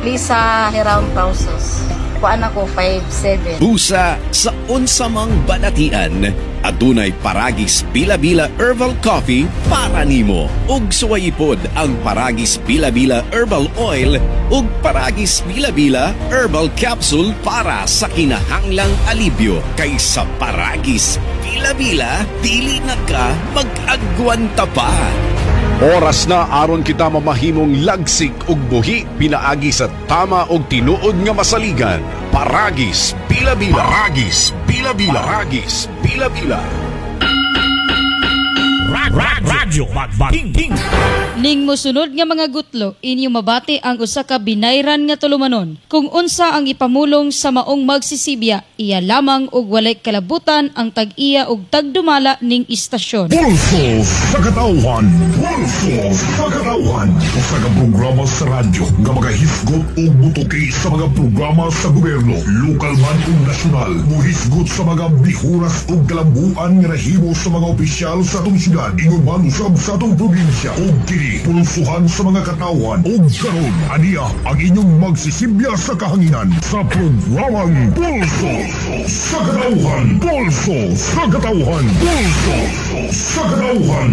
Lisa Hiram Pausos. Kuan ako 5'7". Busa sa unsamang balatian, adunay Paragis Bila-Bila Herbal Coffee para nimo. Ug suwayipod ang Paragis Bila-Bila Herbal Oil ug Paragis Bila-Bila Herbal Capsule para sa kinahanglang alibyo. Kay sa Paragis Bila-Bila, dili na ka mag-agwanta pa. Oras na aron kita mamahimong lagsik ug buhi pinaagi sa tama ug tinuod nga masaligan. Paragis Bila-Bila. Paragis Bila-Bila. Paragis Bila-Bila. Radyo Magbanging. Ning mosunod nga mga gutlo, inyo mabati ang usa ka binayran nga tulumanon. Kung unsa ang ipamulong sa maong magsisibya, iya lamang og walay kalabutan ang tag-iya og tagdumala ning istasyon. Pulso sa Katawhan. Pulso sa Katawhan. Usa ka programa sa radyo nga magahisgot og mutuki sa mga programa sa gobyerno, lokal man ug nasyonal. Muhisgot sa mga bihuras ug kalambuan nga nahimo sa mga opisyal sa atong syudad, ingon man usab sa atong probinsya. Ug kini pulsuhan sa mga katawhan. Ug karon aniya ang inyong magsisibya sa kahanginan sa programang Pulso sa Katawhan. Pulso sa Katawhan. Pulso sa Katawhan.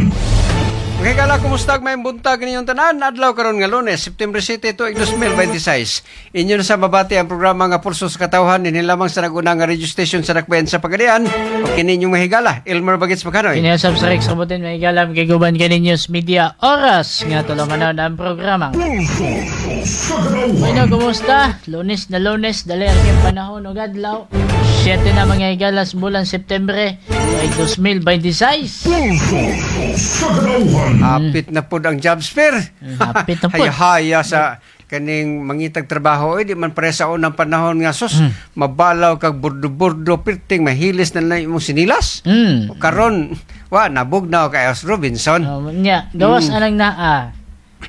Okay kala, kumusta may buntag ninyong tanan? Adlaw karon nga Lunes, September 7 tuig 2026. Inyo na sa mabati ang programa nga Pulso sa Katawhan dinhi lamang sa naguna nga radio station sa Dakbayan sa Pagadian. O kini inyong mahigala, Elmer Bagits Makanoy. Kini usab sa Rex Robotin, may galam kay guban kani News Media Oras nga tulumanon ang programang Pulso sa Katawhan. Bueno, kumusta? Lunes na Lunes, dali ang kiyang panahon ug adlaw. 7 na, mga higalas, bulan Septembre ay 2026. Pulso sa Katawhan. Hapit na pod ang jobs fair. Hapit na pod. Haya-haya sa kaning mangitag trabaho, eh, di man pare sa unang panahon nga sus mabalaw kag burdo-burdo, pirting mahilis na lang imong sinilas. O karon wa nabugnaw kay Os Robinson. Oh, nya, gawas anang naa.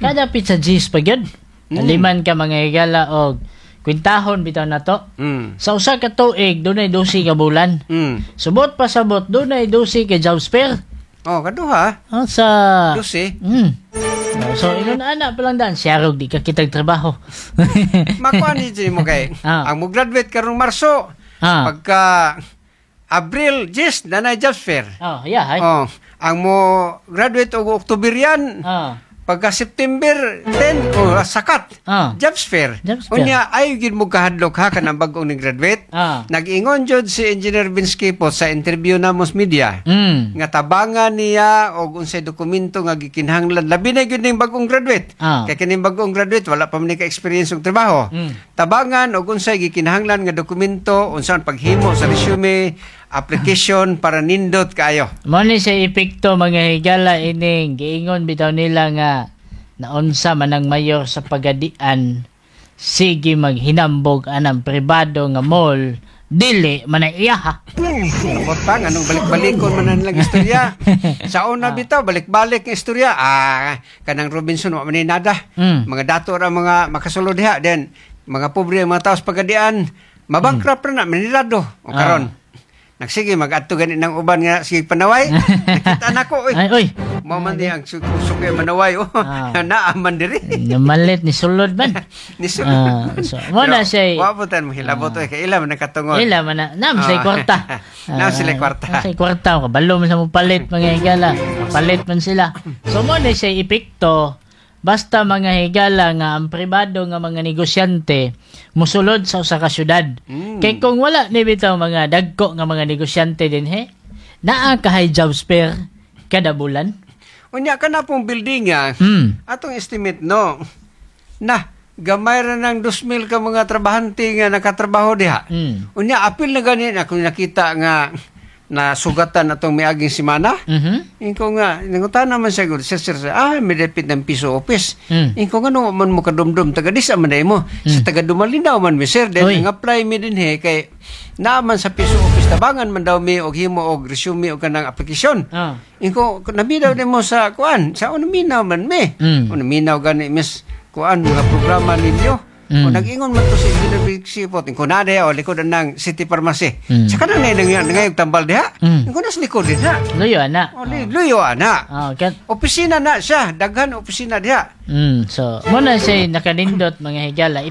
Kada pizza G's pa gyud. Liman ka, mga higala, og kwintahon bitaw na to. Sa usa ka tuig dunay 12 ka bulan. Subot pa sabot dunay 12 ka jobs fair. Oh, kaduha. Oh, sa 12. Oh, so ingon ana pa lang daan siya di ka kitag trabaho. Makuha ni mo kay ang mo graduate karong Marso, pagka Abril, yes, nanay jobs fair. Oh, yeah, ay. Oh, ang mo graduate og October yan, pagka September 10, oh, sakat. Jobs fair. Jobs fair. Unya ay gid mo kahadlok ha kanang bag-ong ni graduate. Nag-ingon jud si Engineer Vince Quipot sa interview na mos media nga tabangan niya og unsay dokumento nga gikinahanglan, labi na gyud ning bag-ong graduate. Kay kining bag-ong graduate wala pa man ni ka-experience og trabaho. Tabangan og unsay gikinahanglan nga dokumento, unsaon paghimo sa resume, application para nindot kaayo. Mo ni siya epekto, mga higala, ining giingon bitaw nila nga naunsa man ang mayor sa Pagadian, sige maghinambog anang pribado nga mall, dili man ang iya. Pulso Abot pa, anong balik-balikon man na nilang istorya. Sa una bitaw, balik-balik ang istorya. Ah, kanang Robinson, wa man ni nada. Mga dato ra mga makasulod diha. Then, mga pobre ang mga tao sa Pagadian, mabankrupt na na, manilado. O karon, nagsige, mag-adto gani ng uban nga, sige panaway. Nakita na ko, oy. Ay, oy. Mao man di ang suki manaway, oh. Naaman diri. Namalit ni sulod man. Ni sulod. Ah, so, mo na siya Wa po tan mohilabot, oy, kay ila man nakatungod. Ila man na, nam sila kwarta. Nam sila kwarta. Nam sila kwarta, kabalo man sa mo palit, mga higala. Palit man sila. So mo na siya epekto basta, mga higala, nga ang pribado nga mga negosyante musulod sa usa ka syudad. Kay kung wala ni bitaw mga dagko nga mga negosyante dinhe, naa kahay jobs fair kada bulan. Unya ka na pong building nga, atong estimate no, na gamay ra ng 2,000 ka mga trabahante nga nakatrabaho diha. Unya apil na gani ako nakita nga nasugatan atong miaging semana. Inko nga, nangutan naman siya gud, "Sir, sir, sir, ah, may dapit ng PISO office." Inko nga, no, man mo kadumdum, taga dis man mo. Sa taga Dumalinao man mi, sir. Then, Uy. ang apply mi din he, kay naaman sa PISO office, tabangan man daw mi og himo og resume og kanang aplikasyon. Inko, naminaw din mo sa kuan, sa naminaw man mi. O naminaw gani miss kuan mga programa ninyo. O nag-ingon man to si Engineer Big Sipot. Inko na diha, o likod ng City Pharmacy. Sa kanang na ngayong tambal diha. Inko na sa likod din ha. Luyo ana. O, luyo ana. Kat Opisina na siya, daghan opisina diha. So, mo na siya nakanindot, mga higala.